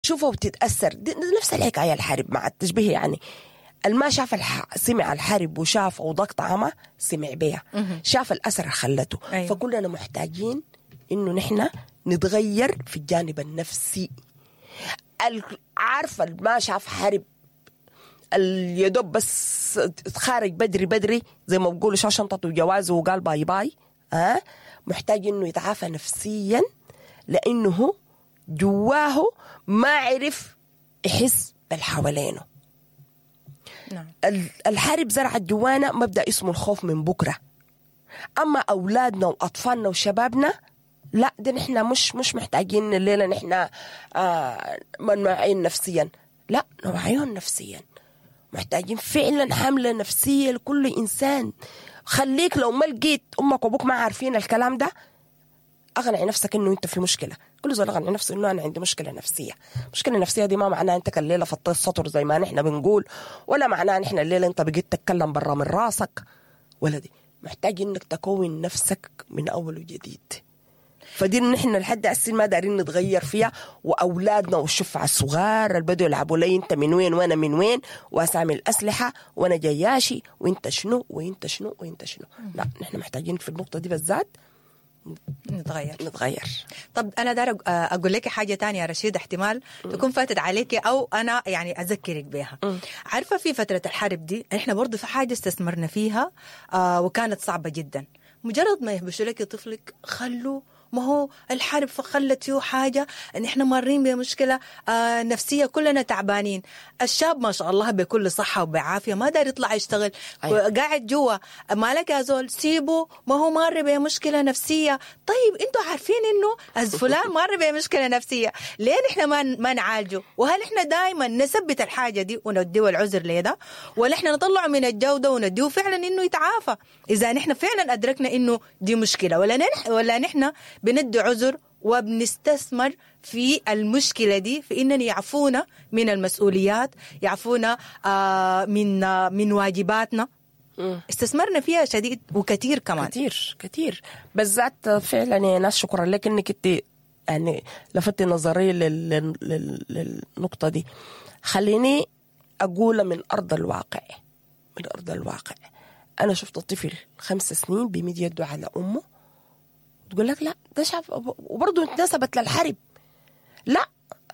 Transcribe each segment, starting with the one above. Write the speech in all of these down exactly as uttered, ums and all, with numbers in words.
بتشوفها وبتتاثر. دي نفس الحكاية الحرب مع التشبيه، يعني الما شاف الح... سمع الحرب وشاف وضاق طعمها، سمع بيها، شاف الاثر اللي خلته. أيوة. فكلنا محتاجين انه نحن نتغير في الجانب النفسي. ال- عارفه ما شاف حرب، اليدوب بس اتخارج بدري بدري زي ما بيقولوا، شال شنطته وجوازه وقال bye bye، ها محتاج انه يتعافى نفسيا، لانه هو جواه ما عرف يحس بالحوالينه. نعم. ال- الحرب زرعت جوانا مبدا اسمه الخوف من بكره. اما اولادنا واطفالنا وشبابنا لا، ده نحن مش مش محتاجين الليلة نحن آه ما نوعين نفسيا، لا، نوعيهم نفسيا. محتاجين فعلا حمله نفسية لكل انسان. خليك لو ما لقيت امك وابوك ما عارفين الكلام ده، اقنع نفسك انه انت في مشكله. كل زول اقنع نفسه انه انا عندي مشكلة نفسيه. مشكلة نفسية دي ما معناها انت الليلة فطيت سطر زي ما نحن بنقول، ولا معناها نحن الليلة انت بقيت تتكلم برا من راسك، ولا دي محتاج انك تكون نفسك من اول وجديد. فدي نحن لحد هسه ما دارين نتغير فيها. واولادنا والشفع الصغار اللي بدوا يلعبوا لي انت من وين وانا من وين، واسامي الاسلحة وانا جياشي وانت شنو وانت شنو وانت شنو. لا، نحن محتاجين في النقطة دي بالذات نتغير. نتغير. طب انا دار اقول لك حاجة تانية يا رشيد، احتمال تكون فاتت عليك او انا يعني اذكرك بها. عارفه في فترة الحرب دي احنا برضو في حاجة استثمرنا فيها آه وكانت صعبة جدا. مجرد ما يهبشوا لك طفلك، خلوا، ما هو الحرب فخلت فيه حاجة، ان احنا مارين بمشكلة آه نفسية، كلنا تعبانين. الشاب ما شاء الله بكل صحة وبعافية ما دار يطلع يشتغل. أيوة. قاعد جوا. مالك يا زول؟ سيبه، ما هو مار بمشكلة نفسية. طيب انتوا عارفين انه فلان مار بمشكلة نفسية، ليه نحن ما ما نعالجه؟ وهل احنا دائما نثبت الحاجة دي ونديه العذر ليه ده، ولا احنا نطلعه من الجو ده ونديه فعلا انه يتعافى اذا نحن فعلا ادركنا انه دي مشكلة؟ ولا نح ولا نحن بندي عذر وبنستثمر في المشكلة دي في إننا يعفونا من المسؤوليات، يعفونا آه من آه من واجباتنا؟ استثمرنا فيها شديد وكثير كمان. كثير كثير بالذات فعلا يا ناس. شكرا لك انك انت يعني لفتي نظري لل... لل... للنقطة دي. خليني أقول من أرض الواقع، من أرض الواقع أنا شفت طفل خمس سنين بيمد يده على أمه. تقول لك لا ده شاف، وبرضه اتنسبت للحرب. لا،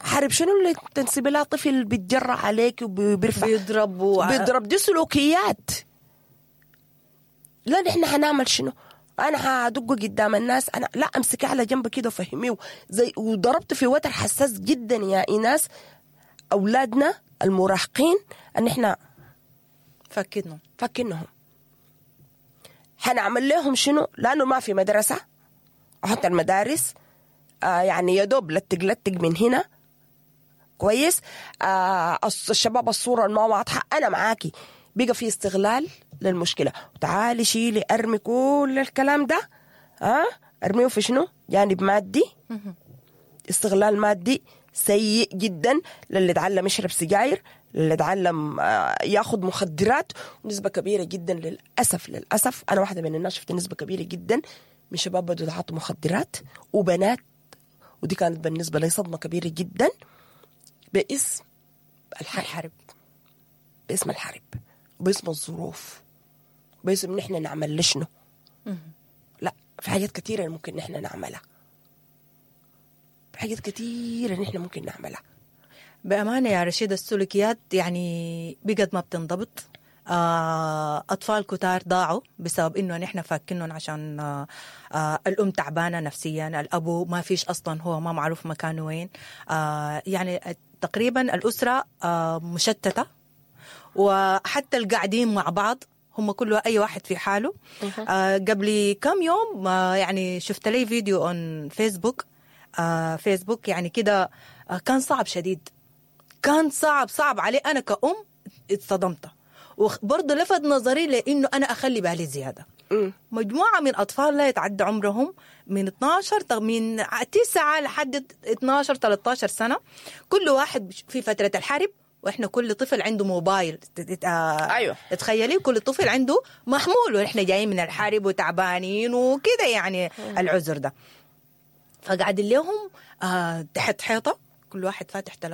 حرب شنو اللي تنسب لها طفل بيتجرأ عليك وبيرفع بيضرب و... بيضرب؟ دي سلوكيات. لا، نحن حنعمل شنو؟ انا هدقه قدام الناس؟ انا لا، امسكيه على جنب كده وفهميه زي وضربت في وتر حساس جدا يا ايناس. اولادنا المراهقين ان احنا فكنهم. فكنهم، حنعمل لهم شنو؟ لانه ما في مدرسه، وحتى المدارس آه يعني يا دوب لتق لتق من هنا. كويس، آه الشباب الصورة ما واضحه. انا معاكي، بقى في استغلال للمشكله. وتعالي شيلي ارمي كل الكلام ده، ها آه ارميه في شنو؟ جانب مادي، استغلال مادي سيء جدا للي اتعلم يشرب سجاير، للي اتعلم آه، ياخذ مخدرات. ونسبة كبيرة جدا للأسف، للأسف أنا واحدة من الناس شفت نسبة كبيرة جدا من شباب بدوا يتعاطوا مخدرات وبنات، ودي كانت بالنسبة لي صدمة كبيرة جدا باسم الحرب. الحرب. باسم الحرب وباسم الظروف، باسم نحن نعمل لشنو. لا، في حاجات كثيرة ممكن نحن نعملها، في حاجات كثيرة نحن ممكن نعملها. بأمانة يا رشيد، السلوكيات يعني بقت ما بتنضبط. آه، أطفال كتار ضاعوا بسبب إنه نحن فاكينهم عشان آه، آه، الأم تعبانة نفسيا، الأبو ما فيش أصلا، هو ما معروف مكانه وين. آه، يعني تقريبا الأسرة آه، مشتتة، وحتى القاعدين مع بعض هم كله اي واحد في حاله. آه قبل كم يوم آه يعني شفت لي فيديو on Facebook، آه فيسبوك يعني كده، آه كان صعب شديد، كان صعب صعب علي انا كأم، اتصدمت، وبرضه لفت نظري لانه انا اخلي بالي زياده. مجموعة من اطفال لا يتعدى عمرهم من اتناشر تغ- من تسعة لحد اتناشر تلتاشر سنه، كل واحد في فترة الحرب، واحنا كل طفل عنده موبايل. آه أيوة. تخيلي كل طفل عنده محمول، واحنا جايين من الحرب وتعبانين وكده، يعني العذر ده. فقاعدين لهم آه تحت حيطه، كل واحد فاتح تلفون.